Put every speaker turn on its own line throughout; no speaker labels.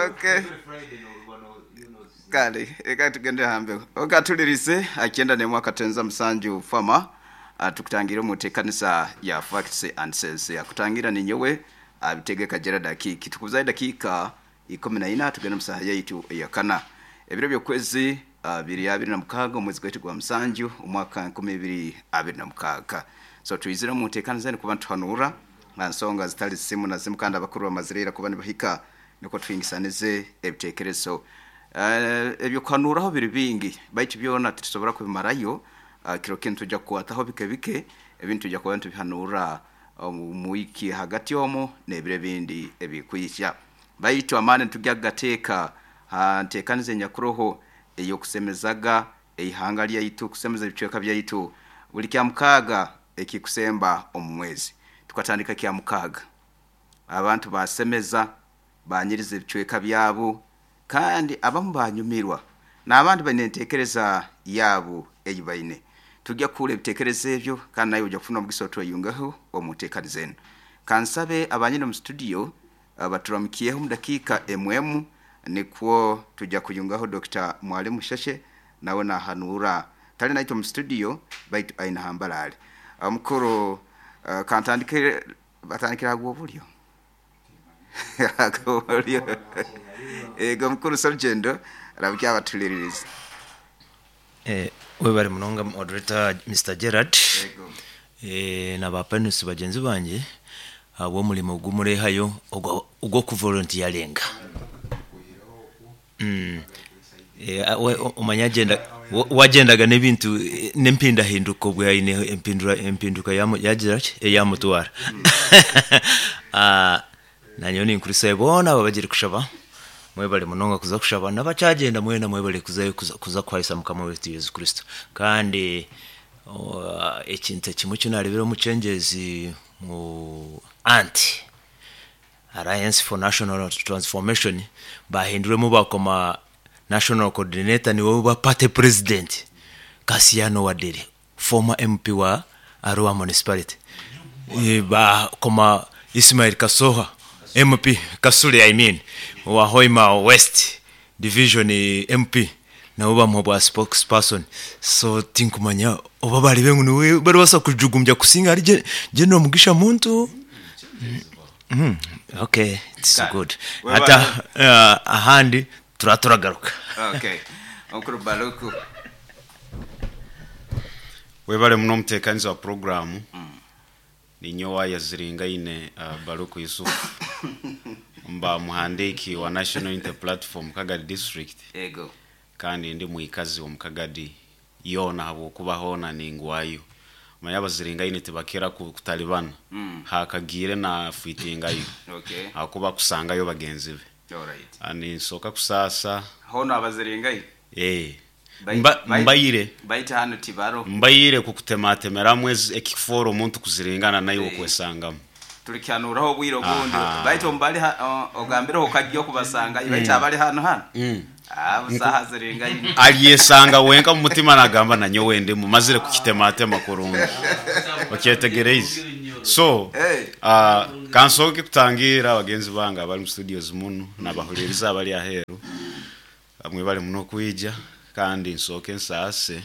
Okay. Kale reka tugende hambeho okatulirize akyenda nemwe akatenza musanju fama tukutangire omu nteekanisa ya Facts and Sense. Akutangira ninyowe Abitegeka Gerald Akiiki. Tukubuzayo edakiika ikumi na ina tugende omu saaha yaitu eyakana. Ebiro by'okwezi biri 26 omwezi gwaitu gwa musanju omwaka 2026. So twizire omu nteekaniza enu kuba nituhanuura ha nsonga zitali zimu na zimu kandi abakuru bamazire ira kuba nibahika nukwo tuhingisanize ebiteekerezo. Eby'okuhanuuraho biri bingi baitu byona titusobora kubimarayo. Kiro kinu nitwija kukwataho bike bike ebindi nitwija kuba nitubihanuura omu wiiki hagati omu n'ebiro ebindi ebikwija. Baitu amaani nitugya kugateeka ha nteekaniza enyakuroho ey'okusemezaga eihanga lyaitu, kusemeza ebicweka byaitu buli Kyamukaaga ekikusemba omu mwezi. Tukatandika Kyamukaaga, abantu baasemeza, baanyiriza ebicweka byabo kandi abamu baanyumirwa n'abandi baine enteekereza yaabu ei baine. Tugya kuhurra ebiteekerezo ebyo kandi naiwe oija kufuna omugisa otweyungeho omu nteekaniza enu. Kansabe abanyine omu situdiyo baturamukyeho omu dakiika emu emu nikwo tugya kuyungaho Dokita Mwalimu Sheshe nawe nahanuura. Tali naitwe omu situdiyo baitu aine hambaraali. Omukuru kantandike batandikire aha gw'obulyo. Ag'obulyo. Ego omukuru Serugendo ramukya abatuliririza.
Webare munonga moderator Mister Gerald
Ego.
na ba panelists bagyenzi bangye ahabw'omurimo ogu murehayo ogw'okuvolontiyaringa. Omanya we agyendaga n'ebintu n'empindahinduka obwe aine empinduka yagira ki eyamutwara. Nanyowe ninkurisayo boona abo abagire kushaba, mwebare munonga kuza kushaba n'abakyagyenda mwena mwebare kuzayo kuza kuhaisa Mukama waitu Yesu Kristo. Kandi ekintu ekimwe eki nareebire omu kyengyezi ngu anti Alliance for National Transformation bahinduremu bakoma National Coordinator niwe oba party president Kasiano Waderi former MP wa Arua Municipality bakoma Ismail Kasoha MP Kasule I mean owa Hoima West Division MP nabo bamuha obwa spokesperson so tinkumanya oba bareebe ngu niwe baribaasa kujugumbya kusinga ahari General Mugisha Muntu. Okay it's
Kale.
good.
Webale.
Hati ahandi turaba turagaruka.
Okay. Omukuru Baluku.
Webale muno omutekaniza wa puroguramu. Ninyowe Ayaziringaine Baluku Yusuf, mba muhandiiki wa National Unity Platform Kagadi District
Ego.
kandi ndi mwikazi omu Kagadi yoona ahabw'okuba hoona ningwayo. Omanya Abaziringaine tibakira kutalibana, haakagiire naafiitingayo
Okay.
ahakuba kusangayo bagenzi be.
Alright.
Ninsooka kusaasa.
Hoona Abaziringaine?
Ee. Mbaire.
Baitu hanu tibaro.
Mbaire kukutematemeramu ekikufoora omuntu kuziringana naiwe okwesangamu.
Tulikyanuraho obwire obundi. Baitu omu bali ogambireho okagya okubasangayo baitu abali hanu hanu busaho aziringaine.
Alyesanga wenka omu mutima nagamba nanyowe ndimu mazire kukitematema kurungi. Okyetegereize? So, kansooke kutangiira bagenzi bange abali mu studios munu nabahuliriza abali aheeru. Mwebale muno okwija kandi nsooke nsaase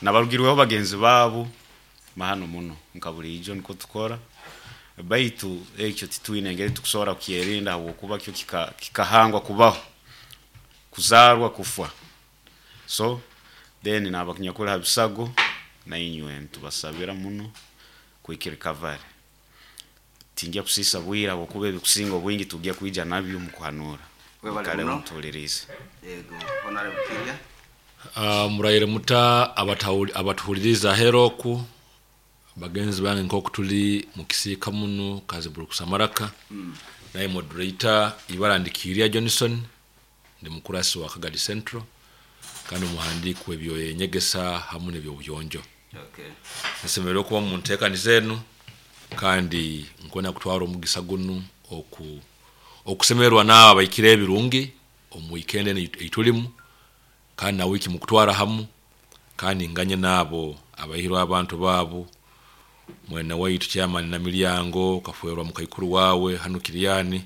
nabarugirweho bagenzi baabu mahano muno nka buriijo nikwo tukora baitu ekyo titwine ngeri tukusobora kukyerinda habwokuba kyo kikahangwa kubaho, kuzaarwa, kufwa. So then naabanyakuli ha bisago nainywe nitubasabira muno quick recovery. Tingya kusiisa bwire habwokuba ebikusinga obwingi tugya kwija nabyo omu kuhanuura.
Webale
Mwikaleho
muno.
mutuhuliriize.
Yego, Honorable Kirya.
Muraire muta abatuhuliriize aheeru oku, bagenzi bange nk'oku tuli mu kisiika munu Kaziburi Amaraka, naye moderator ibara ndi Kiirya Johnson, ndi mukurasi wa Kagadi Central kandi omuhandiiki w'ebyenyegesa hamu n'eby'obuyonjo.
Okay.
Nsemereirwe okuba omu nteekaniza enu kandi nkwenda kutwara omugisa gunu okusemererwa n'abo abaikire ebirungi omu wiikendi enu ei tulimu kandi na wiiki mukutwara hamu kandi nganye n'abo abaihirwe abantu baabu mwene waitu chairman Namilyango kafwerwa mukaikuru waawe hanu Kiriani.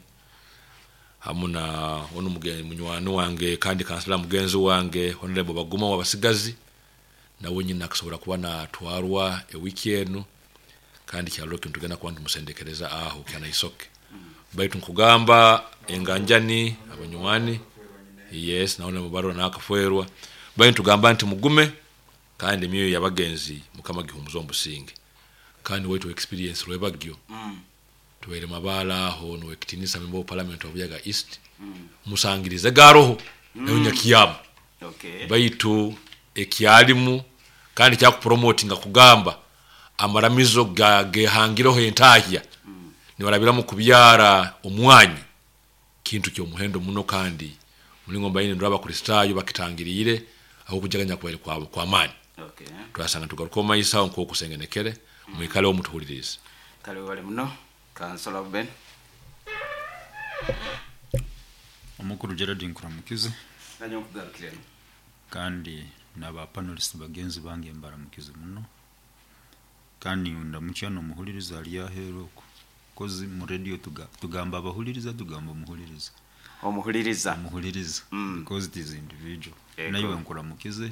Hamu na onu munywani wange kandi kansela mugenzi wange Honorable Baguma wabasigazi, nawe nyina akasobora kuba natwarwa ewiki enu, kandi kyalo kintu tugenda kuba ntumusendekereza aho kyanaisoke. Baitu nkugamba enganjani abanywani, yes, naona mubarwa nakafwerwa, baitu tugamba nti mugume kandi emyoyo y'abagenzi Mukama gihumuza omusinge. Kandi waitu experience rwebagyo tubaire mabala aho nowekitinisa member of parliament wa Buyaga East, musangirize garoho nayo nyakiyamu. Baitu ekyalimu kandi kyakupromotinga kugamba amaramizo gehangireho entahya nibarabiramu kubyara omwanyi, kintu ky'omuhendo muno, kandi mulingo mbaine ndora Abakristaayo bakitangiriire aho kujaganya kubaire kwa maani. Twasanga tugaruka omu maiso aho nk'okusengenekere, mwikaleho mutuhulirize.
Kale webale muno Kansela Ben.
Omukuru Gerald nkuramukize.
Nanyo nkugarukiremu.
Kandi n'aba panelists bagenzi bange mbaramukize muno. Kandi ndamukya n'omuhuliriza ali aheeru okwo. Kozi mu radio tugamba abahuliriza, tugamba omuhuliriza.
Omuhuliriza.
Omuhuliriza. Because it is individual. Naiwe nkuramukize.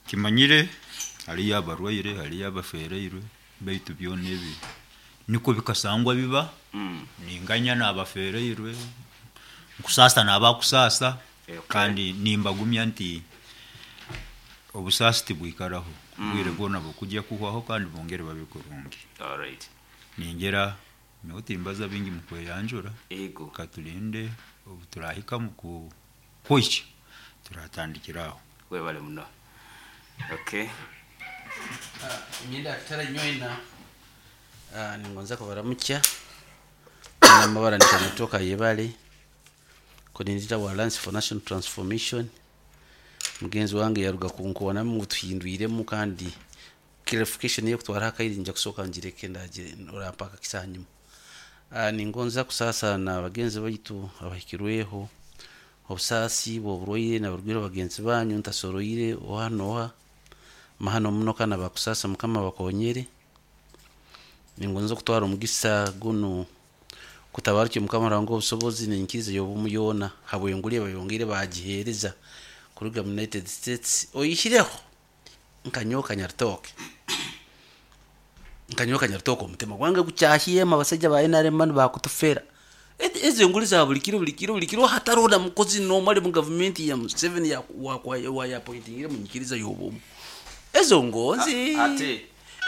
Kimanyire haliyo abarwaire, haliyo abafereirwe, baitu byona ebi niko bikasangwa biba. Ninganya n'abafereirwe, nkusaasa n'abakusaasa, kandi nimbagumya nti obusaasi tibwikaraho, obwire bwona bukujya kuhwaho kandi bongere babe kurungi. Ningera nyowe timbaza bingi mu kweyanjura, katulinde obu turahika mu kuhikya turatandikira aho.
Webale muno.
Imyenda kitara nyoina ningonza kubaramukya namabara nikanatoka yebale coordinator wa Alliance for National Transformation. Mugenzi wange yaruga kunkonamu ngu tuhindwiremu, kandi clarification yo kutwara akairi nja kusoka ngireke ndagire orampaka kisanyuma. Ningonza kusasa na bagenzi baitu abahikirweho obusaasi bw'oburwaire n'abarwaire bagenzi banyu ntasoroire oha noha mahano muno kana bakusasa Mukama bakonyere. Ningonza kutwara omugisa guno kutabarukye Mukama Ruhanga obusobozi n'enyikiriza y'obumu yoona habw'enguli bayongere bagiheereza kuruga mu United States oyihireho nkanyoka nyarutoke. Nkanyoka nyarutoke omutima gwange gukyahiyema abasajja ba NRM banu bakutufera. Ezo enguli za buli kiro buli kiro buli kiro hatariho na mukozi n'omwe ari mu gavumenti ya Museveni ya appointingire mu nyikiriza y'obumu. Ezo ngonzi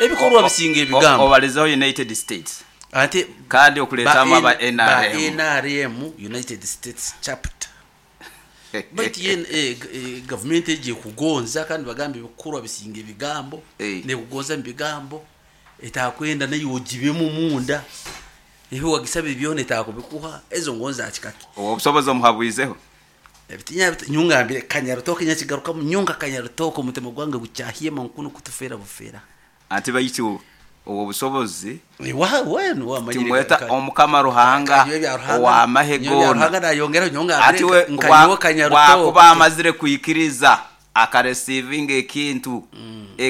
ebikorwa bisinga ebigambo.
Obalizaho United States.
Ate
kandi okuletamu aba NRM.
NRM United States chapter. Baitu ye gavumenti egiye kugonza kandi bagamba ebikorwa bisinga ebigambo, nekugonza mu bigambo etakwenda nayo ogibemu munda. Ebi wagisaba ebyona etakubikuha, ezo ngonza akikaki.
Obusobozi omuhabwizeho.
Ebitinya nyungambire kanyarutoke nyakigarukamu nyunga kanyarutoke omutima gwange gukyahiyema nkuno kutufera bufera.
Ati baitu obwo busobozi
timweta
Omukama Ruhanga ow'amahe goona. Ati we wakuba amazire kwikiriza akaresivinga ekintu,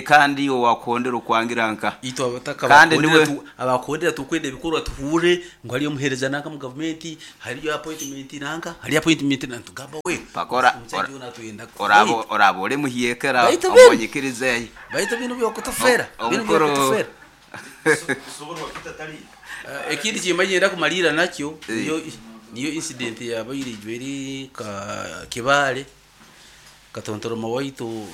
kandi owakondera okwangira nka.
Kandi niwe abakondera tukwenda ebikorwa tuhure ngu hariyo omuheereza nanka mu gavumenti, hariyo appointment nanka, hariyo appointment nanka, tugamba we.
Pakora, orabo ore muhyekera, omonyikirize.
Baitu bino byokutufera, bino byokutufera. Ekindi kimanyira kumalira nakyo, niyo incident yabaire ijweri ka Kibale. Katontoroma waitu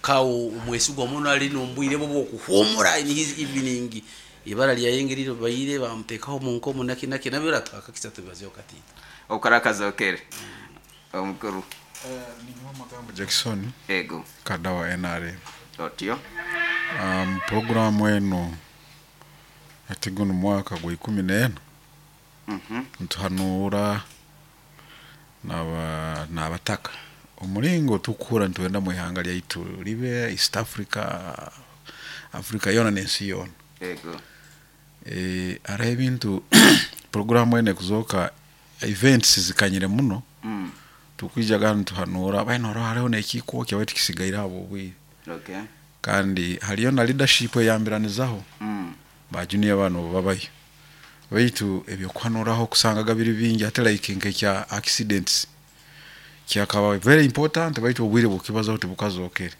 kawo omwesigwa muno ali nombwire bwo bwokuhumura in his evening ibara lyayengerire baire bamutekaho mu nkomo naki naki nabyo twakakisa tubazeho katito
okarakaza okere omukuru.
Ni magambo Jackson
ego
kada wa NRM
otyo.
Programu eno atigono mwaka gwa 14 ntuhanura n'abataka omulingo tukura ntuenda mu ihanga lyaitu libe East Africa, Africa yona n'ensi yona.
Ego.
Hariho ebintu programu ene kuzoka events zikanyire muno. Tukwijaga ntuhanura baino hariho n'ekiko kyabaitu kisigaire abo obwire. Kandi hariyo na leadership eyambiranizaho. Ba junior bano babayo. Baitu ebyokuhanuraho kusangaga biri bingi, ate like nk'ekya accidents kyakaba very important, baitu obwire bw'okukibazaho tibukazokere.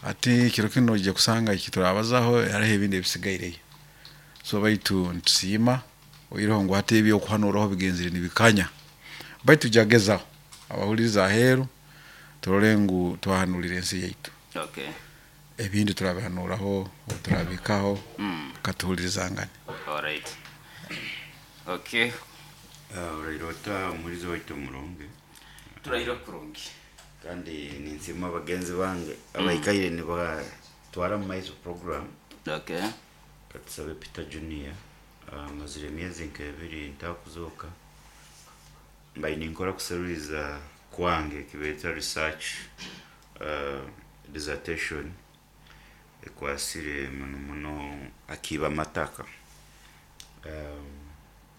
Ati kiro kinu noija kusanga eki turabazaho hariho ebindi ebisigaireyo. So baitu nitusiima oihireho ngu hati ebyokuhanuraho bigenzere nibikanya, baitu tujagezaho abahuliriza aheeru turole ngu twahanulira ensi yaitu.
Okay.
Ebindi turabihanuraho obu turabihikaho, katuhulirizangane.
Alright. Okay.
Oraire ota omuhuriza waitu omurungi?
Turaire kurungi.
Kandi ninsiima bagenzi bange abaikaire nibatwara mu maiso program.
Okay.
Katusabe Peter Junior, mazire emyezi nk'ebiri ntakuzooka, mbaire ninkora kuseruriza kwange ekibeeta research dissertation ekwasire muno muno akiiba amataka,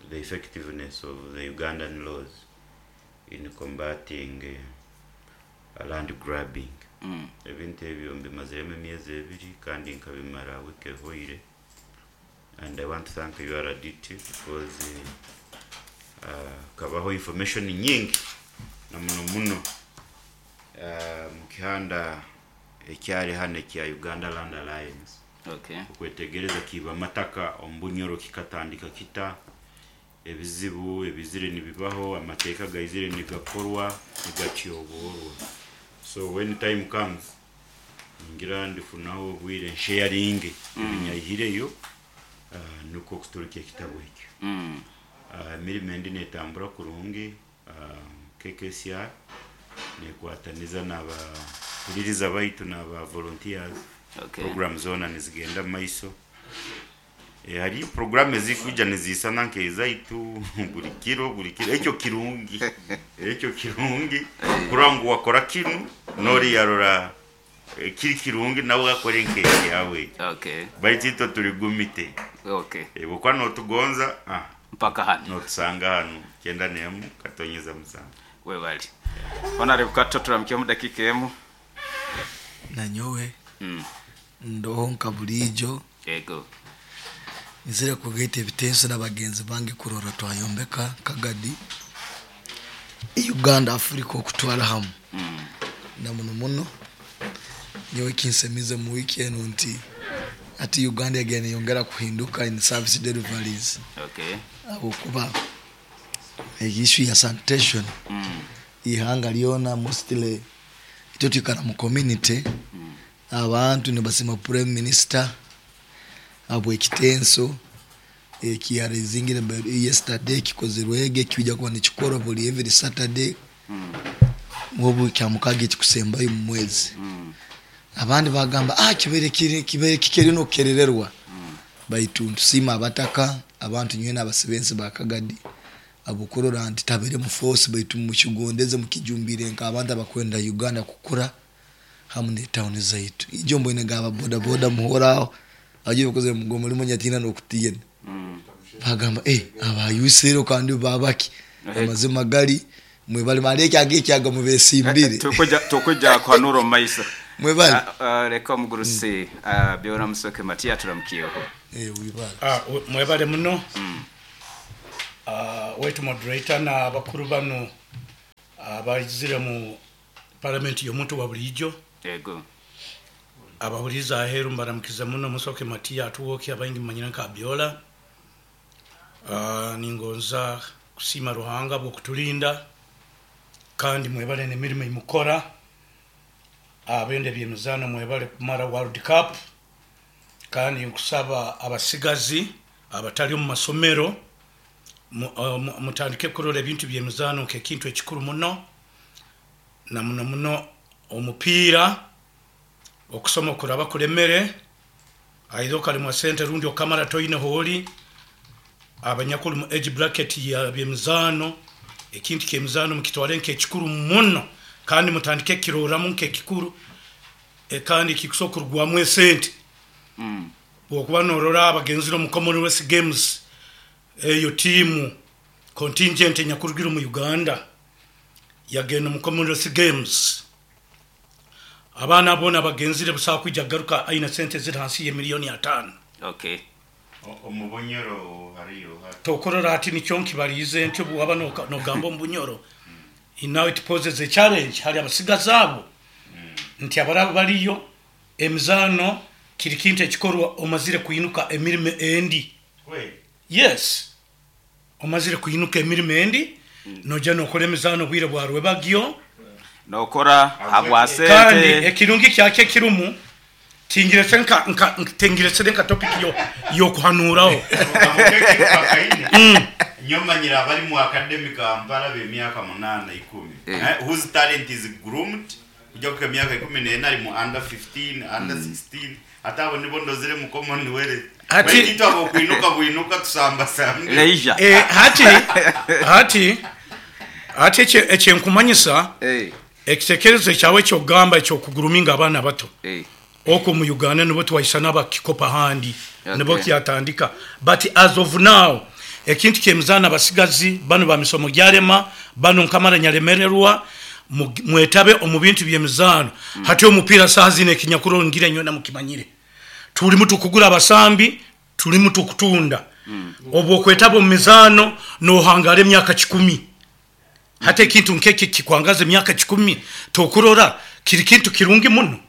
the effectiveness of the Ugandan laws in combating land grabbing. Ebintu ebyo mbimaziremu emyezi 2 kandi nkabimara wiiki ehoire, and I want to thank URDT because kabaho information nyingi na muno muno mu kihanda ekyari hano ekya Uganda Land Alliance.
Okay.
Okwetegereza kiiba amataka omu Bunyoro kikatandika kita, ebizibu ebizire nibibaho, amateeka gaizire nigakorwa nigatyoborwa. So when time comes ngira ndifunaho obwire nsharinge ebinyayihireyo, nukwo kuturukya ekitabo ekyo. Emirimo endi netambura kurungi, KKCR nekwataniza n'abahuliriza baitu n'aba volunteers.
Okay.
Program zoona nizigenda mu maiso. Hariyo program ezikuija nizisana nk'ezaitu buli kiro buli kiro, ekyo kirungi, ekyo kirungi kurora ngu wakora kinu nori yarora kiri kirungi nawe akore nk'ekyawe.
Okay.
Baitu itwe tuli gumite.
Okay.
Bwokuba notugonza
mpaka hano
notusanga hano 91.7.
Webali. Honorable Kato, turamukye mu dakika emu.
Nanyowe ndoho nka burijo.
Yego.
Nzire kugaita ebitenso n'abagenzi bange kurora twayombeka Kagadi Uganda Africa okutwara hamu. Na muno muno nyowe kinsemize mu wiki eno nti ati Uganda yagenda neyongera kuhinduka in service deliveries.
Okay.
Ahabwokuba issue ya sanitation ihanga lyona mostly itwe twikara mu community, abantu nibasima prime minister habwekitenso ekiyarizingire yesterday kikozerwege kijja kuba nikikorwa buli every Saturday obu kyamukaga ekikusembayo mu mwezi. Abandi bagamba kibere kibere kikeri nokukerererwa. Baitu ntusima abataka abantu nywena abasibensi ba Kagadi abukurora nti tabere mu force, baitu mukigondeze mukijumbire nka abantu abakwenda Uganda kukura hamu ne town zaitu. Ijo mbwene gaba boda boda muhoraho aje bakoze mugomo limo nyatina nokutiyena. Bagamba abayusero kandi babaki amazima gari mwebali maleke agekyaga mubesimbire.
Tukuja kwa nuro maisa.
Mwebali.
Reka mugurusi byora musoke Matia turamukiyeho.
Wibale.
Mwebale muno. Wetu moderator na bakuru bano abazire mu parliament y'omuntu wa bulijo.
Yego.
Abahuriza aheru mbaramukiza muno musoke Matia atuwoke abaingi manyina nka Biola. Ningonza kusima Ruhanga bwo kutulinda kandi mwebale n'emirimo imukora. Abende byemizano mwebale kumara World Cup kandi nkusaba abasigazi abatali mu masomero mutandike kurora ebintu byemizano nk'ekintu ekikuru muno na muno muno omupiira okusoma kuraba kulemere aido kalimwa sente rundi okamara toine holi abanyakuru mu age bracket ya byemizano ekintu kyemizano mukitware nk'ekikuru muno kandi mutandike kiroramu nk'ekikuru kandi kikusokurwamu esente. Bwokuba norora abagenzire mu Commonwealth Games eyo timu contingent nyakurugira mu Uganda yagenda mu Commonwealth Games abana bona bagenzire busa kwijja garuka aina sente ziri hansi ya milioni 5.
Okay.
Omu Bunyoro hariyo
Tokorora hati nikyo nkibaliize nti obu waba nogamba omu Bunyoro, now it poses a challenge hali abasigazi abo nti abaraba bariyo, emizaano kiri kintu ekikorwa omazire kwinuka emirimo endi. Yes, omazire kwinuka emirimo endi, noija nokora emizaano obwire bwa rwebagyo.
Nokora habwa
Kandi
sente.
Ekirungi kyakyo ekirumu, tingiretsire nka nka tingiretsire nka topic yo y'okuhanuuraho.
Nyowe manyire abari mu academy Kampala ab'emyaka munaana ikumi whose talent is groomed kujya kuhika emyaka ikumi n'ena ari mu under 15, under 16 hati abo nibo ndozire mu Commonwealth.
Hati
Baitu itwe ab'okwinuka bwinuka tusambasambe.
Leisure.
Hati hati hati ekyenkumanyisa ekitekerezo ekyawe eky'okugamba eky'okuguruminga abaana abato okwo omu Uganda nibo twaisana abakikopa ahandi nibo kyatandika but as of now ekintu ky'emizaano abasigazi banu ba misomo gyarema banu nkamara nyaremererwa mwetabe omu bintu by'emizaano. Hati omupiira saaha zinu ekinyakurongire nywena mukimanyire turimu tukugura abasambi turimu tukutunda. Obu okwetaba omu mizaano nohangara emyaka kikumi. Hati ekintu nk'eki kikwangaza emyaka kikumi, tokurora kiri kintu kirungi muno?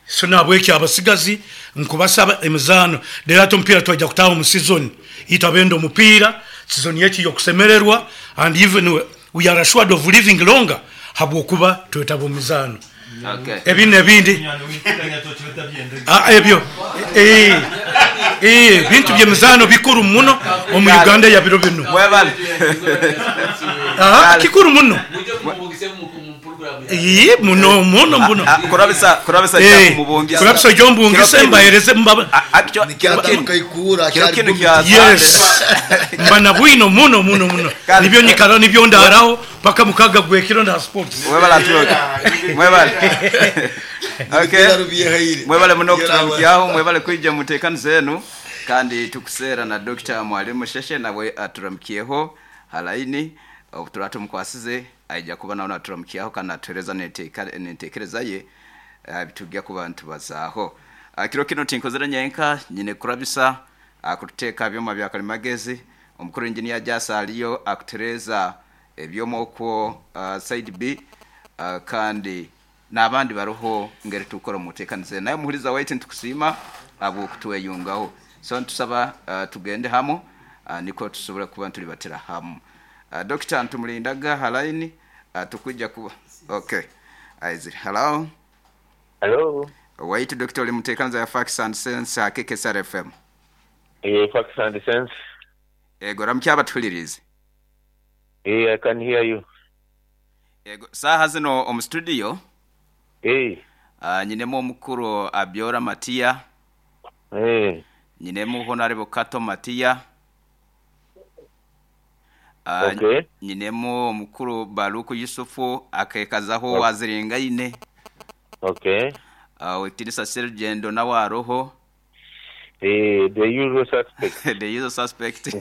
So nahabweki abasigazi nkubasaba emizaano, reero hati omupiira twaija kutaaha omu season, itwe abenda omupiira, season yaitu y'okusemererwa and even we are assured of living longer habwokuba twetaba omu mizaano. Ebi n'ebindi, ebyo ebintu by'emizaano bikuru muno omu Uganda ya biro binu. Kikuru muno. Muno muno muno. Kurabisa oije ombungise mbahereze Yes. Mba na bwino muno muno muno. Nibyo nyikaraho nibyo ndaaraho paka mukaga gw'ekiro nda ha sports.
Mwebale aturoke. Mwebale. Okay. Mwebale muno okuturamukyaho, mwebale kwija mu nteekaniza enu kandi tukuseera na Dokita Mwalimu Musheshe nawe aturamukyeho ha layini. Obu turaba tumukwasize aija kuba nawe naturamukyaho kandi natuhereza n'enteekereza ye aha bitugya kuba nitubazaaho. Kiro kinu tinkozire nyenka, nyine kurabisa akututeeka ha byoma bya kalimagezi, omukuru Engineer Jasa aliyo akutereeza ebyoma okwo side B kandi n'abandi baroho ngeri tukukora omu nteekaniza enu. Nawe muhuriza waitu nitukusiima habw'okutweyungaho. So nitusaba tugende hamu nikwo tusobole kuba nitulibatira hamu. Dokita nitumulindaga ha line tukwija kuba okay aizire. Hello.
Hello.
Waitu Dokita oli muteekaniza ya Facts and Sense ha KKSR FM.
Eeh Facts and Sense.
Ego ramukya abatuhuliriize.
Eeh I can hear you.
Ego saaha zino omu studio.
Eeh.
Nyinemu omukuru Abiora Matia.
Eeh.
Nyinemu Honourable Kato Matia.
Okay.
Nyinemu omukuru Baluku Yusufu akekazaho owaziringaine.
Okay.
Ow'ekitinisa Serugendo nawe aroho.
Eh, the usual suspect.
The usual suspect.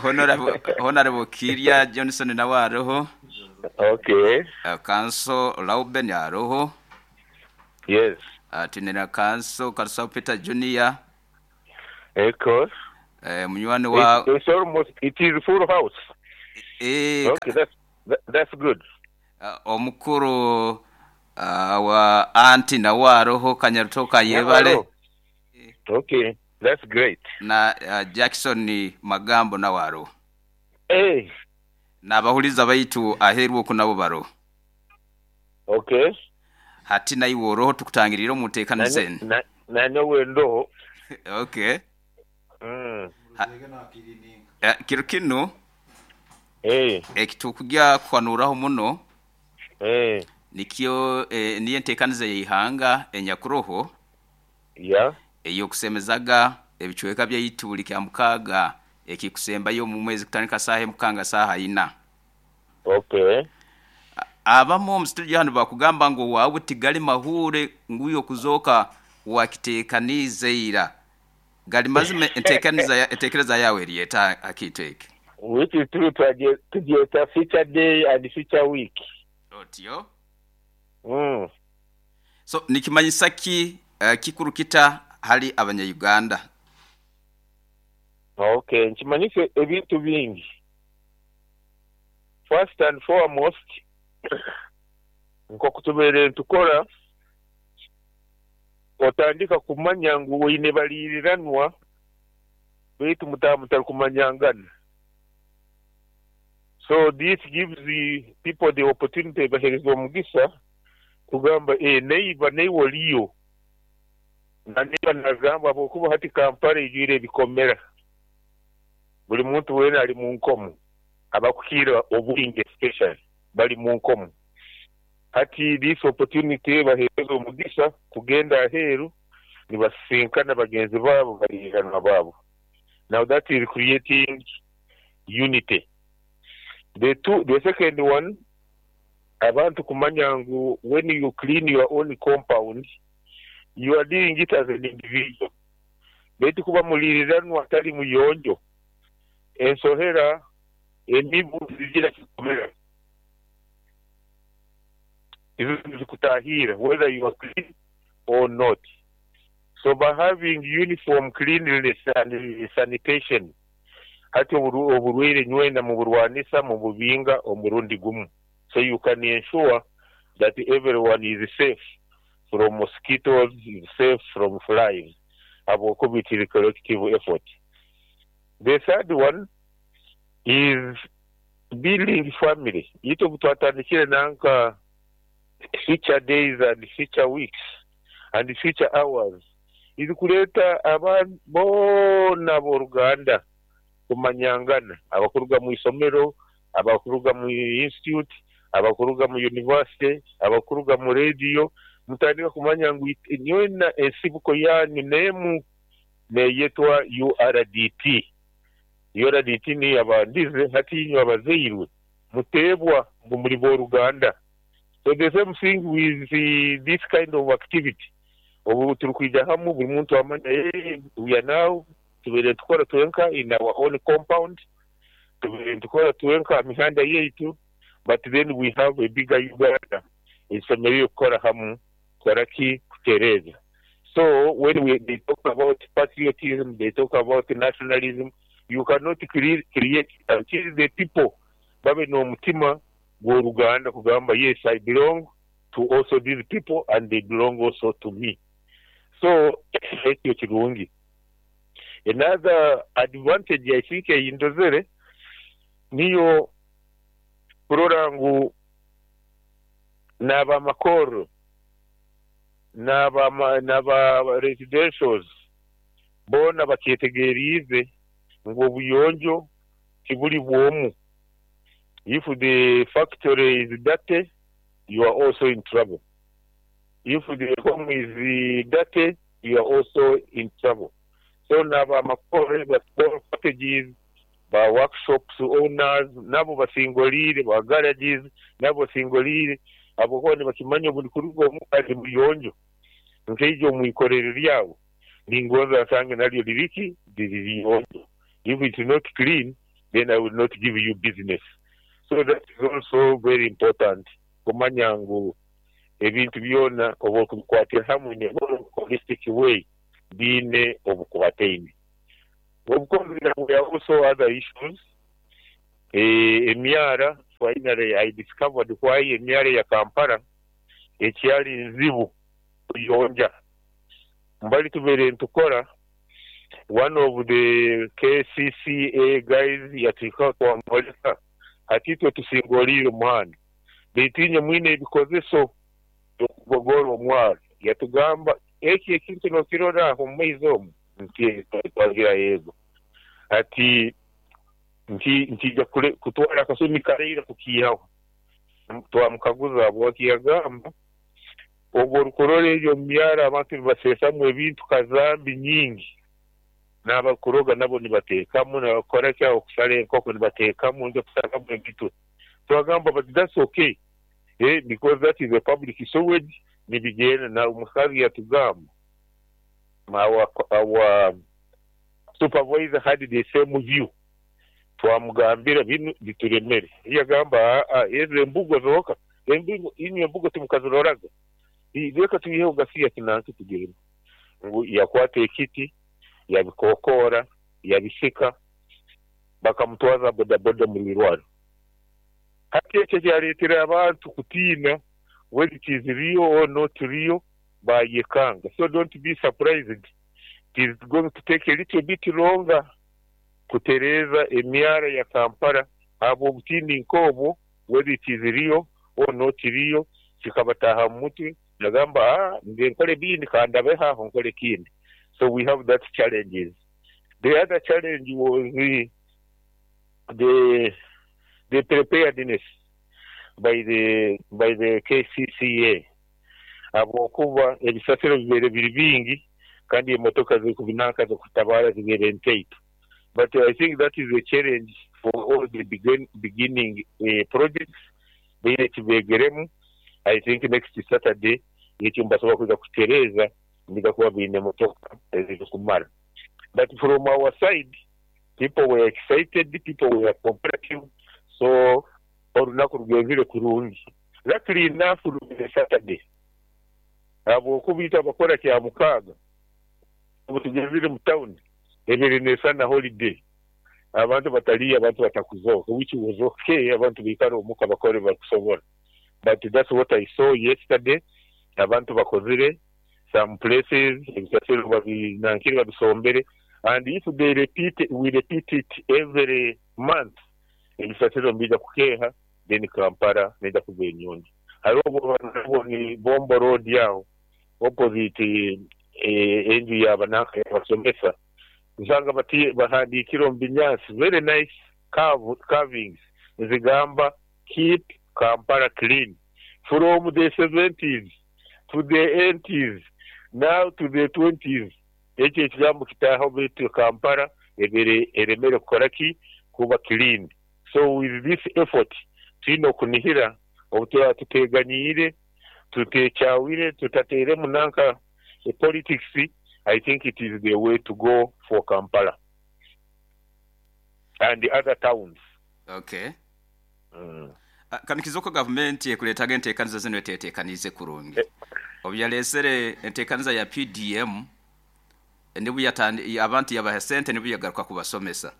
Honorable, Honorable Kirya Johnson nawe aroho.
Okay.
Kanso Lauben aroho.
Yes.
Twine na Kanso Karusaho Peter Junior.
Of course.
Munywani wa.
It's almost, it is full house. Okay, that's good.
Omukuru wa anti nawe aroho Kanyaruto Kayebare.
Okay, that's great.
Na Jackson Magambo nawe aroho.
Eh.
N'abahuriza baitu aheeru oku nabo baroho.
Okay.
Hati naiwe oroho tukutangiriire omu nteekaniza enu.
Nanyowe ndoho.
Okay. Kiro kinu ekitukugya kuhanuuraho muno nikyo niyo enteekaniza ey'eihanga enyakuroho ey'okusemezaga ebicweka byaitu buli Kyamukaaga ekikusembayo omu mwezi kutandika saaha emu kukanga saaha ina. Abamu omu studio hanu bakugamba ngu owaawe tigali mahuure ngu iwe okuzooka wakiteekaniize ira. Gali mazima enteekereza yaawe eri eta ha kintu eki?
Which is true tugyeta future day and future week.
Otyo? So nikimanyisa ki, kikuru kita hali abanya-Uganda?
Okay, nkimanyise ebintu bingi. First and foremost, nk'oku tubeere nitukora, otandika kumanya ngu oine baliiriranwa baitu mutarikumanyangana. So this gives the people the opportunity, bahereza omugisa kugamba neighbor neiwe oliyo. Na neighbor nagamba habwokuba hati Kampala ijwire ebikomera. Buli muntu weena ali mu nkomo, abakukira obwingi especially bali mu nkomo. Hati this opportunity bahereza omugisa kugenda aheeru nibasisinkana bagenzi baabo, baliiranwa baabo. Now that is creating unity. The second one, abantu kumanya ngu when you clean your own compound, you are doing it as an individual. Baitu kuba muliriranwa atali muyonjo, ensohera emibu zigira kikomera. Izo zikutahira whether you are clean or not. So by having uniform cleanliness and sanitation, hati oburwaire nywena muburwanisa mububinga omurundi gumu. So you can ensure that everyone is safe from mosquitoes, is safe from flies. Habwokuba it is a collective effort. The third one is building family. Itwe twatandikire nanka future days and future weeks and future hours. Izi kuleta abantu boona b'oruganda kumanyangana, abakuruga mu isomero, abakuruga mu institute, abakuruga mu university, abakuruga mu radio, mutandika kumanya ngu nywena ensibuko yanyu nemu neyetwa URDT. URDT ni abandize hati inywe abazairwe mutebwa ngu muri b'oruganda. So the same thing with this kind of activity. Obu turi hamwe buri muntu amanya, we are now tubeere tukora twenka in our own compound, tubeere tukora twenka mihanda yaitu, but then we have a bigger Uganda esemereire kukora hamwe kora ki kutereza. So when they talk about patriotism, they talk about nationalism, you cannot create until the people babe n'omutima gw'oruganda kugamba yes, I belong to also these people and they belong also to me. So ekyo kirungi. Another advantage I think eyindozere niyo kurora ngu n'abamakoro n'aba residentials boona bakyetegeriize ngu obuyonjo tibuli bwomu. If the factory is dirty, you are also in trouble. If the home is dirty, you are also in trouble. So n'abamakoro ba small cottages, ba workshops owners, nabo basingolire, ba garages, nabo basingolire, abo boona bakimanya obuli kuruga omu ali muyonjo. Nkeijo omwikorero lyabo, ningonza nsange naryo liriki, liri liyonjo. If it's not clean, then I will not give you business. So that is also very important. Kumanya ngu ebintu byona oba okubikwatira hamwe in a holistic way biine obukwataine. Of course, there were also other issues. Emyara, finally I discovered why emyara ya Kampala ekyali nzibu kuyonja. Mbali tubeere ntukora, one of the KCCA guys yatwika twamwoleka ati itwe tusingoliire omuhanda, baitu inywe mwine ebikozeso by'okugogora omwaro. Yatugamba eki ekintu nokirora aho omu maizi omu, nti twagira yego. Ati nkija kutwara akasumi karaira kukiihaho. Twamukaguza habwaki, yagamba obwo orukurora eryo omu myaro abantu nibaseesamu ebintu kazambi nyingi, n'abakuroga nabo nibateekamu, n'abakora ki aho kusara enkoko nibateekamu, nja kusaramu emitwe. Twagamba but that's okay, because that is a public sewage, nibigenda. Na omukazi yatugamba our supervisor had the same view. Twamugambira binu bituremere, yagamba ezo embugo zoka, embugo inywe embugo timukaziroraga, reka tuyiheho gasiya kinansi tugende. Ngu yakwata ekiti yabikokoora yabisika bakamutwaza bodaboda mu irwarro. Hati ekyo kyareetera abantu kutiina whether it is real or not real bayekanga. So don't be surprised it is going to take a little bit longer kutereeza emyara ya Kampala ahabw'obutiini nk'obwo whether it is real or not real kikabataaha mu mutwe nagamba aah nze nkore ebindi kandabeho aho nkore ekindi. So we have that challenges. The other challenge was the the preparedness by the by the KCCA ahabw'okuba ebisasiro bibaire biri bingi kandi emotoka zirikubinanka zirikutabara zibaire ntaito but I think that is a challenge for all the beginning projects baine ekibegeremu I think next Saturday ekyo nibasobola kwija kukitereeza nibaija kuba baine emotoka ezirikumara but from our side people were excited, people were cooperative so orunaku rugenzire kurungi. Luckily enough rubire Saturday ahabw'okuba itwe abakora Kyamukaaga obu tugenzire mu town ebaire nesana holiday abantu batariyo abantu batakuzooka which was okay abantu baikare omuka bakore ebibarikusobora but that's what I saw yesterday abantu bakozire some places ebisasiro babinankire babisombere and if they repeat we repeat it every month ebisasiro nibiija kukeeha then Kampala neija kuba enyonjo. Hariho obwo ni Bombo road aho opposite enju ya bananka yabasomesa nsanga bahandikire omu binyansi very nice carvings nizigamba keep Kampala clean from the seventies to the eighties now to the twenties ekyo ekigambo kitaaho beitu Kampala ebaire eremere kukora ki? Kuba clean. So with this effort twine okunihira obu turaba tuteeganyiire, tuteekyawire, tutateiremu nanka politics, I think it is the way to go for Kampala and other towns.
Okay. Kanikiza oku gavumenti ekureetaga enteekaniza zinu eteeteekaniize kurungi. Obu yareesere enteekaniza ya PDM, nibwo abantu yabaha sente nibwo yagaruka kubasomesa.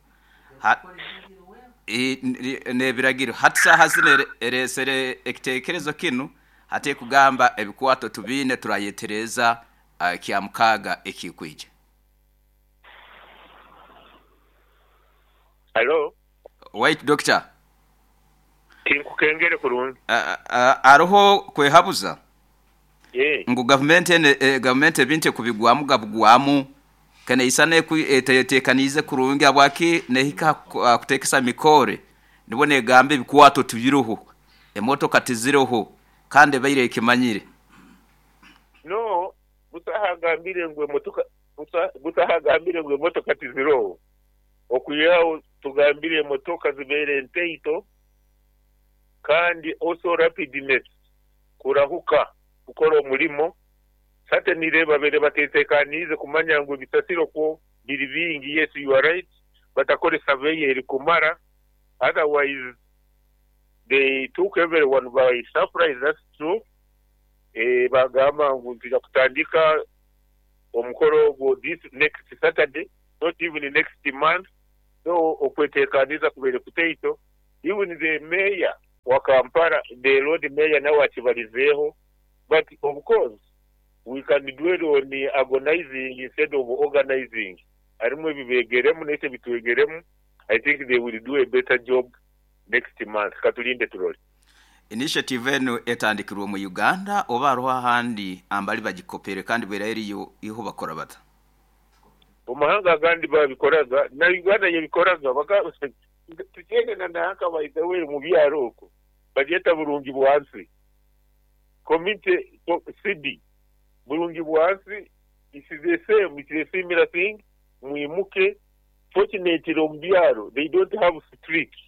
N'ebiragiro. Hati saaha zinu ereesere ekiteekerezo kinu hati ekugamba ebikwato tubiine turayetereeza Kyamukaaga ekikwija.
Hello.
Waitu Dokita.
Tinkukengere kurungi.
Haroho kwehabuza ngu gavumenti enu gavumenti ebintu ekubigwamu gabugwamu keneisana etetekaniize kurungi habwaki nehika ha kutekesa mikore nibwo negamba ebikwato tibiroho, emotoka tiziroho kandi ebaire ekimanyire.
No, busaho agambire ngu emotoka busaho agambire ngu emotoka tiziroho. Okwihaho tugambire emotoka zibaire ntaito kandi also rapidness, kurahuka kukora omurimo, certainly babaire batetekaniize kumanya ngu ebisasiro kwo biri bingi, yes you are right, batakore survey erikumara otherwise they took everyone by surprise that's true, bagamba ngu nitwija kutandika omukoro ogwo this next Saturday. not even next month so okwetekaniza kubaire kutaito even the mayor wa Kampala the lord mayor nawe akibarizeeho but of course we can dwell on agonizing instead of organizing harimu ebibegeremu naitwe ebitwegeremu I think they will do a better job next month katurinde turore.
Initiative enu etandikirwe omu Uganda oba haroho ahandi ambali bagikopere kandi bwera eriyo iho bakora bata?
Omu mahanga agandi babikoraga na Uganda yebikoraga baka tukyene na nanka by the way omu byaro okwo bagyeta burungi bwansi community city burungi bwansi it's the same it's a similar thing mwimuke fortunately omu byaro they don't have streets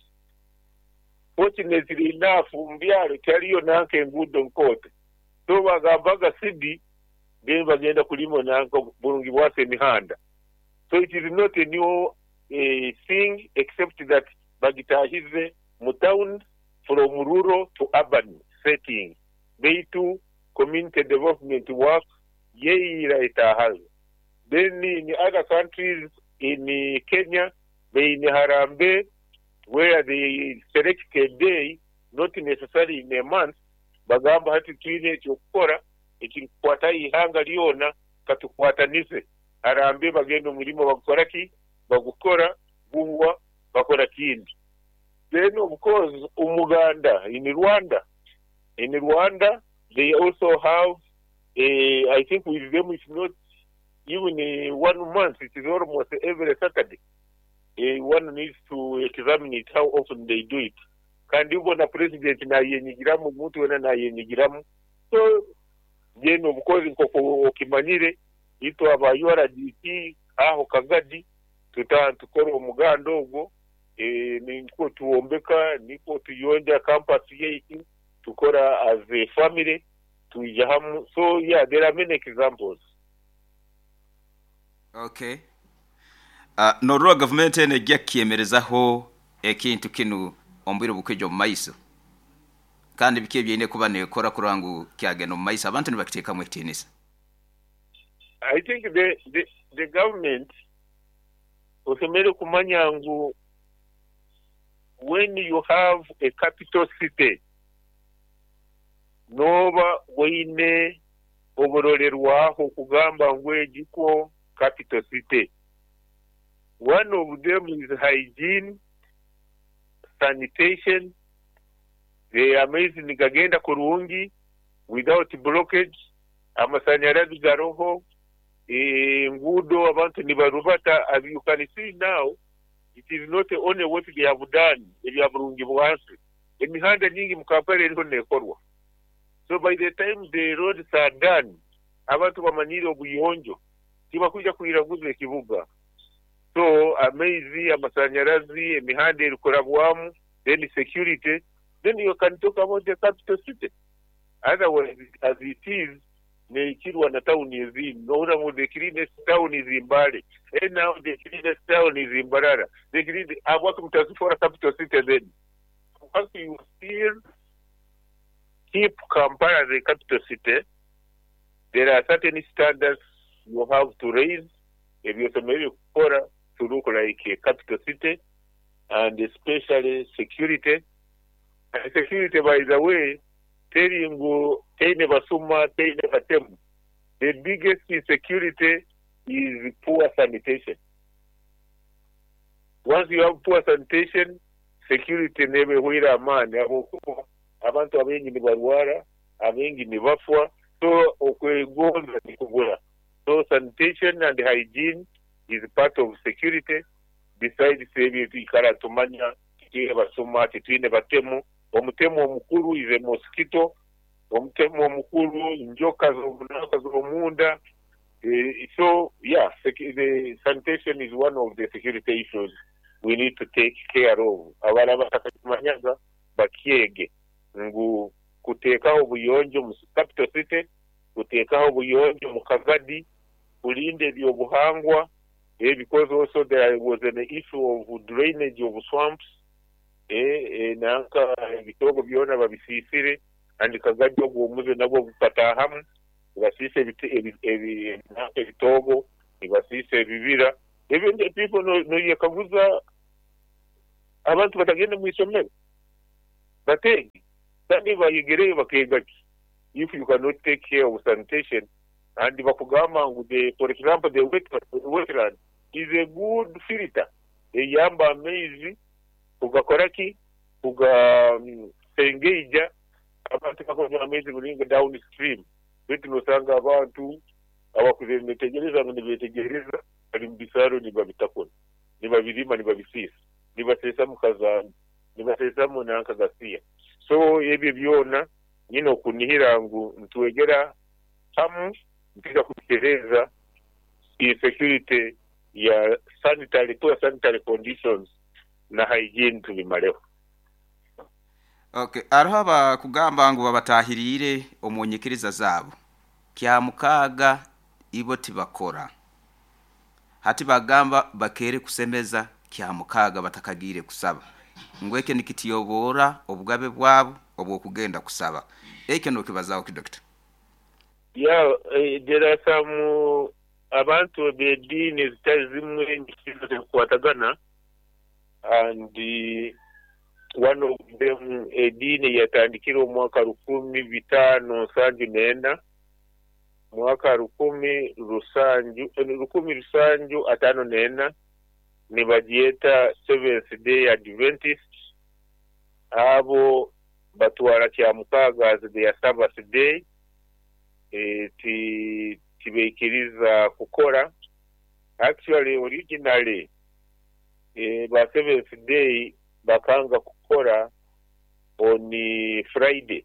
fortunately enough omu byaro tihariyo nanka enguudo nkooto so bagambaga city then bagenda kulima nanka burungi bwasi emihanda so it is not a new thing except that bagitahize mu town from rural to urban setting beitu community development work yeira etahayo. Then in other countries, in Kenya, baine Harambee where they select a day, not necessarily in a month, bagamba hati twine eky'okukora ekirikukwata aha ihanga ryona katukwatanize. Harambee bagenda omurimo bagukora ki? Bagukora, guhwa, bakora kindi. Then of course Umuganda in Rwanda, in Rwanda they also have a, I think with them it's not even one month, it is almost every Saturday. One needs to examine it how often they do it. Kandi bo na president nayenyigiramu, omuntu wena nayenyigiramu. So then of course nk'oku okimanyire, itwe aba URDP aho Kagadi tuta nitukora omuganda ogwo, nikwo twombeka, nikwo tuyonja campus yaitu, tukora as a family, twija hamu. So yeah, there are many examples.
Okay. Norora gavumenti enu ejja kukyemerezaho ekintu kinu omu bwire obukwija omu maiso? Kandi biki ebi eine kuba nekora kurora ngu kyagenda omu maiso abantu nibakiteekamu ekitiinisa?
I think the, the, the government osemeriire kumanya ngu when you have a capital city nooba oine oburolerwaho kugamba ngu egi kwo capital city. One of them is hygiene, sanitation, amaizi nigagenda kurungi without blockage, amasanyarazi garoho, enguudo abantu nibarubata as you can see now it is not only what they have done ebya burungi bwansi, emihanda nyingi mu Kampala eriho nekorwa. So by the time the roads are done abantu bamanyiire obuyonjo tibakwija kwiraguza ekibuga. So amaizi, amasanyarazi, emihanda erikurabwamu then security then you can talk about the capital city. Otherwise as it is nekirwa na tawuni ezindi nohurra ngu the cleanest town is Mbale, and now the cleanest town is Mbarara, the cleanest, habwaki mutazifora capital city then? Once you still keep Kampala as a capital city, there are certain standards you have to raise ebi osemeriire kukora to look like a capital city and especially security. And security by the way teri ngu teine basuma, teine batemu. The biggest insecurity is poor sanitation. Once you have poor sanitation, security neeba ehwaire amaani ahabw'okuba abantu abaingi nibarwara, abaingi nibafwa, so okwegonza nikubura. So sanitation and hygiene is part of security besides ebi twikara nitumanya titwine basuma, titwine batemu. Omutemu omukuru is a mosquito, omutemu omukuru njoka z'omunanka z'omunda. So yeah, the sanitation is one of the security issues we need to take care of. Abaraba batakakimanyaga bakyege ngu kuteekaho obuyonjo omu capital city, kuteekaho obuyonjo omu Kagadi, kurinda eby'obuhangwa, because also there was an issue of drainage of swamps, nanka ebitoogo byona babisiisire and Kagadi ogwo omuze nagwo gukataahamu, nibasiisa nanka ebitoogo, nibasiisa ebibira. Ebyo people noyekaguza abantu batagende mu isomero bateege kandi bayegereyo bakeega ki if you cannot take care of sanitation and bakugamba ngu the, for example the wetland is a good filter eyamba amaizi kugakora ki kugasengeija abantu bakunywa amaizi muringo down stream beitu nosanga abantu abakuzire nibetegereza ngu nibetegereza bari mu bisaaro nibabitakura nibabirima nibabisiisa nibaseesamu kazambi nibaseesamu nanka gasiya. So ebyo byona nyine okunihira ngu nitwegera hamu nitwija kubitereeza insecurity ya sanitary, poor sanitary conditions na hygiene tubimareho.
Okay, hariho abakugamba ngu babatahiriire omu nyikiriza zaabo. Kyamukaaga ibo tibakora. Hati bagamba bakeere kusemeza Kyamukaaga batakagiire kusaba. Ngu ekyo nikityoboora obugabe bwabo obw'okugenda kusaba. Ekyo nokibazaho ki Dokita?
Yeah, there are some Abantu b'ediini ezitali zimwe enyikiriza tezikukwatagana, and one of them ediini eyatandikire omu mwaka 1574, mwaka 1754, nibagyeta Seventh Day Adventist. Abo batwara Kyamukaaga as their Sabbath day, tibaikiriza kukora. Actually, originally, ba Seventh Day bakanga kukora on Friday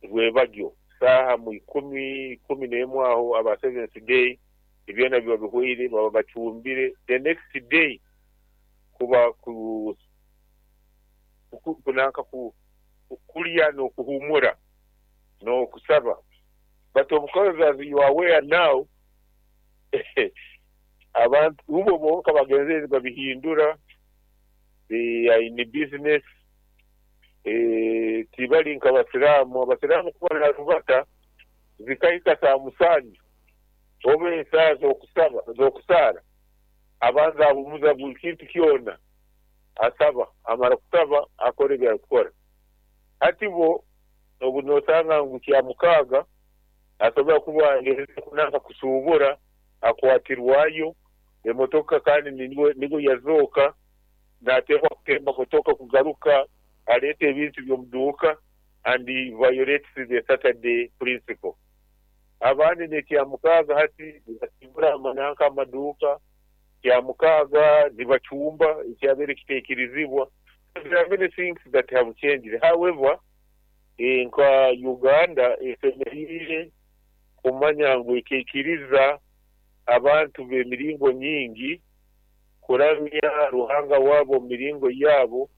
rwebagyo saaha mu ikumi, 11 aho aba Seventh Day ebyona biba bihweire, baba bacumbire. The next day kuba kunanka kulya n'okuhumura n'okusaba. But of course, as you are aware now, abantu ubo bonka bagenzere babihindura. They are in business. Tibali nka Abasiraamu. Abasiraamu kuba narubata zikahika saa 7 oba esaaha z'okusaba, z'okusaara, abanza ahumuza buli kintu kyona, asaba, amara kusaba akora ebi arikukora. Hati bo obu nosanga ngu Kyamukaaga asobora kuba agenzere kunanka kusuubura, akwatirwayo emotoka, kandi nibwo yazooka, nateekwa kutemba motoka kugaruka aleeta ebintu by'omuduuka, and he violates the Saturday principle. Abandi n'Ekyamukaaga hati nibasiibura amananka amaduuka, Kyamukaaga nibacumba ekyabaire kitaikirizibwa. There are many things that have changed. However, nka Uganda esemeriire kumanya ngu ekaikiriza abantu b'emiringo nyingi kuramya Ruhanga waabo omu miringo yaabo.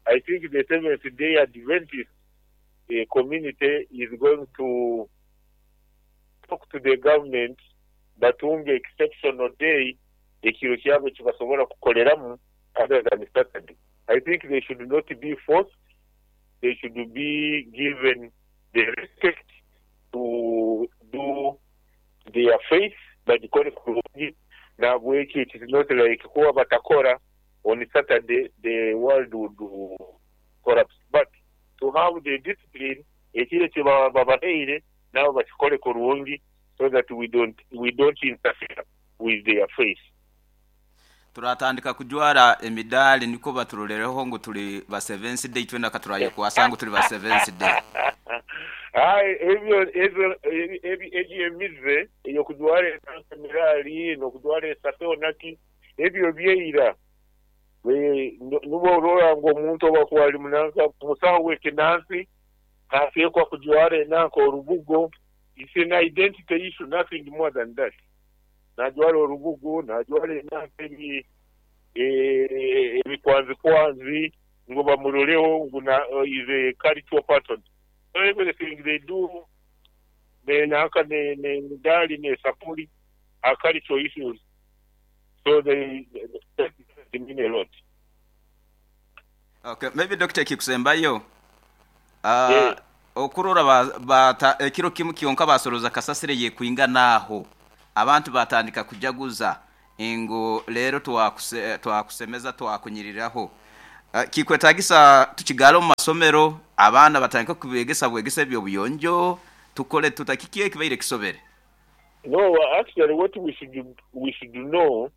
I think the Seventh Day Adventist community is going to talk to the government batunge exceptional day, ekiro kyabo ekibasobora kukoleramu other than Saturday. I think they should not be forced, they should be given the respect to do their faith, bagikore kurungi. Nahabwekyo it is not like kuba batakora on Saturday the world would collapse, but to have the discipline, ekiro eki babahaire nabo bakikore kurungi so that we don't interfere with their faith.
Turatandika kujwara emidaali niko baturolereho ngu tuli ba Seventh Day, twena katurayekwasa ngu tuli ba Seventh Day.
Aye, ebyo egyo emize ey'okujwara emirali n'okujwara esato naki, ebyo byeira. Nubwo orora ngu omuntu obu akuba ali munanka musaho w'ekinansi nateekwa kujwara enanka orubugo. It's an identity issue, nothing more than that. Najwara orubugo, najwara enanka ebikwanzikwanzi ngu bamuroleho ngu is a cultural person. So everything they do, nenanka nemidaali nesapuli are cultural issues, so they mean a lot.
Okay, maybe Dr. kikusembayo, okurora ekiro kimu kyonka basoroza kasasire yekwingana aho, abantu batandika kujaguza ngu leero twakusemeza, twakunyiriraho. Kikwetagisa tukigale omu masomero, abaana batandika kubegesa bwegesa ebyobuyonjo, tukole tuta kiki ekibaire kisobere?
No, actually what we should know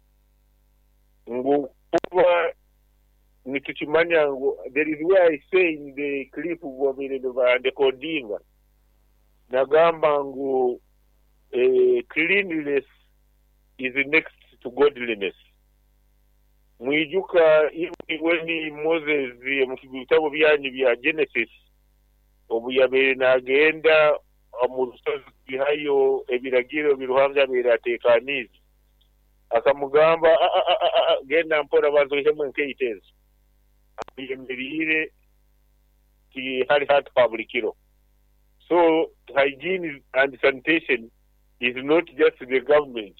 ngu kuba nitukimanya ngu there is where I say in the clip babaire nibandekodinga, nagamba ngu cleanliness is next to godliness. Mwijuka even when Moses, mu bitabo byanyu bya Genesis, obu yabaire nagenda omu rusozi kwihayo ebiragiro bi Ruhanga yabaire ateekaniize, akamugamba, "Ah, ah, ah, ah, ah, genda mpora, banza oihemu enkaito ezo, ayemeriire tihali hatu ha buli kiro." So hygiene and sanitation is not just the government,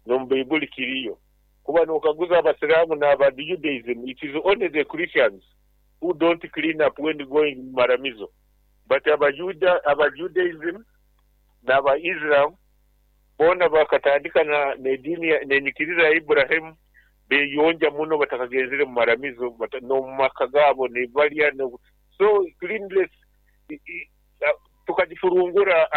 n'omu Baibuli kiriyo. Kuba nokaguza Abasiraamu n'aba Judaism, it is only the Christians who don't clean up when going mu maramizo, but Abajuda, aba Judaism n'aba Islam. Boona bakatandika na n'ediini n'enyikiriza ya Iburahimu, beyonja muno batakagenzere mu maramizo, n'omu maka gaabo nibalya. So cleanliness tukagifurungura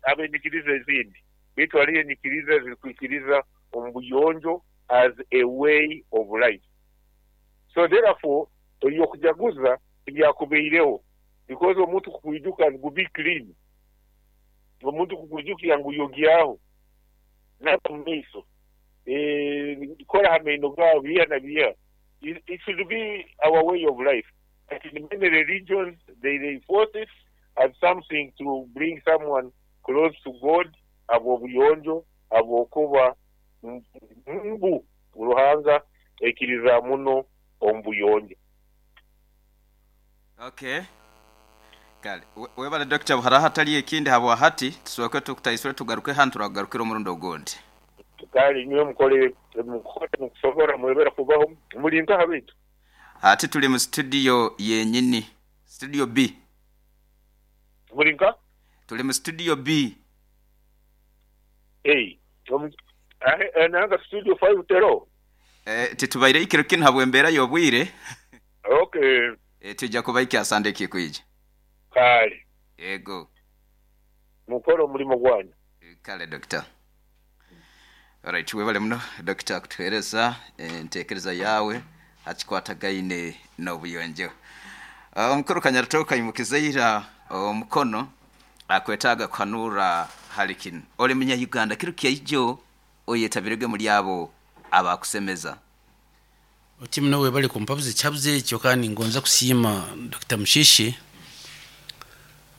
ab'enyikiriza ezindi, baitu hariho enyikiriza ezirikwikiriza omu buyonjo as a way of life. So therefore eby'okujaguza tibyakubaireho because omuntu kukwijuka ngu be clean, omuntu kukwijukya ngu yogyaho, naaba mu maiso, kora ha maino gaawe, biha na biha. It should be our way of life. But in many religions they reinforce it as something to bring someone close to God, habw'obuyonjo, habw'okuba mbu Ruhanga aikiriza muno omu buyonjo.
Okay. Kale webale Dokita buharaho hatali ekindi habwa hati tusooke tukutaisule tugaruke hanu turakugarukira omurundi ogundi.
Kale inywe mukole mukusobora mwebale kubaho. Muli nkaha baitu?
Hati tuli mu studio yenyini, studio B.
Muli nka?
Tuli mu studio B.
Ei, nanga studio 5 tero?
Titubaire ekiro kinu habw'embeera y'obwire.
Okay.
Twija kubaikya Sande ekikwija.
Kale.
Yego.
Mukole omulimo gwanyu.
Kale Dokita. Alright, webale muno Dokita kutuhereza entekereza yawe hakikwatagaine n'obuyonjo. Omukuru Kanyarutooka aimukize ira omukono akwetaaga kuhanura hali kinu. Oli munya Uganda kiro kyaijo oyetabirege muli abo abakusemeza.
Oti muno webale kumpabuza ekihabuzo ekyo kandi ningonza kusiima Dokita Mushishi.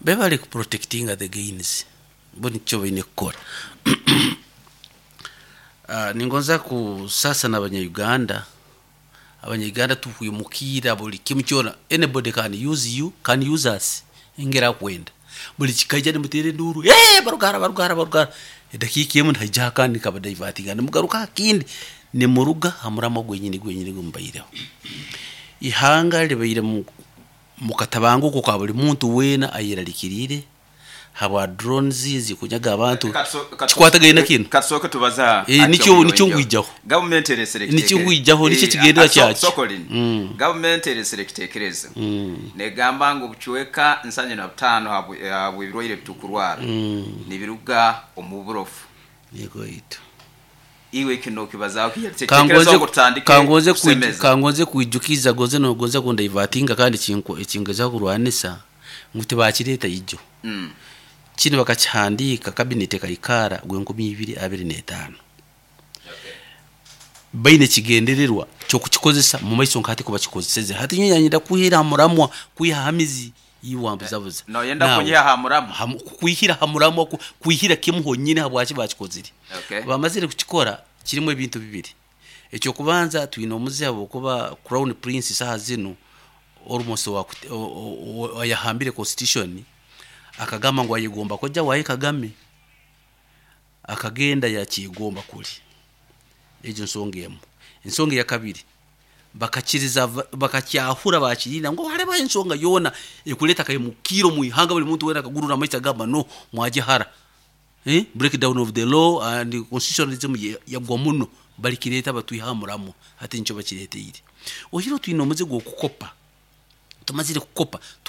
Bebale ku protectinga the gains, bo nikyo baine kukora. Ningonza kusasa n'abanya-Uganda, abanya-Uganda tukwimukiira buli kimu kyona, anybody can use you, can use us engeri akwenda. Buli kikaija nimuteera enduuru, ee barugara barugara barugara, edakiika emu nihaija akandi nikabadivatinga nimugaruka aha kindi, nimuruga ha muramwa gwenyini gwenyini gumubaireho. Ihanga libaire mu katabanguko ka buli muntu weena ayeralikiriire habwa drones ezikunyaga abantu, kikwatagaine na kinu.
Katusooke tubaza
Nikyo nikyo nkwijaho.
Gavumenti eresere
Nikyo nkwijaho, nikyo ekigendererwa kyakyo.
Sokolin. Gavumenti eresere ekitekerezo negamba ngu obucweka 75 habw'ebirwaire ebitukurwara nibiruga omu burofu.
Yego itu.
Iwe kino okibazaho ki? Tekerezaho ngu tutandike kusemeza.
Kangonze kwijukiza gonze nogonza kundaivatinga kandi ekingezaho kurwanisa ngu tibakireeta ijo. Kinu bakakihandiika cabinet ekaikara gwenkumi ibiri abiri n'etaano. Baine ekigendererwa ky'okukikozesa mu maiso nka hati kubakikozeseze. Hati nyowe nyenda kwihira ha muramwa, kwiha ha mizi iwe wambuzabuza.
Noyenda kunyiha ha muramwa?
Kwihira ha muramwa, kwihira kimu honyini habwaki bakikozire. Bamazire kukikora kirimu ebintu bibiri. Ekyokubanza twine omuze habwokuba Crown Prince saha zinu almost ayahambire constitution akagamba ngu ayegomba kojja waye Kagame, akagenda yakyegomba kuli. Egyo nsonga emu. Ensonga eya kabiri, bakakiriza bakakyahura bakirinda ngu hariho ensonga yoona ekuleta akaimukiro mu ihanga, buli muntu weena akagurura amaiso agamba no mwagihara. Breakdown of the law and constitutionalism yagwa muno, balikireta batwiha muramo hati nikyo bakireteire. Ohiro twine omuze gw'okukopa, tumazire kukopa.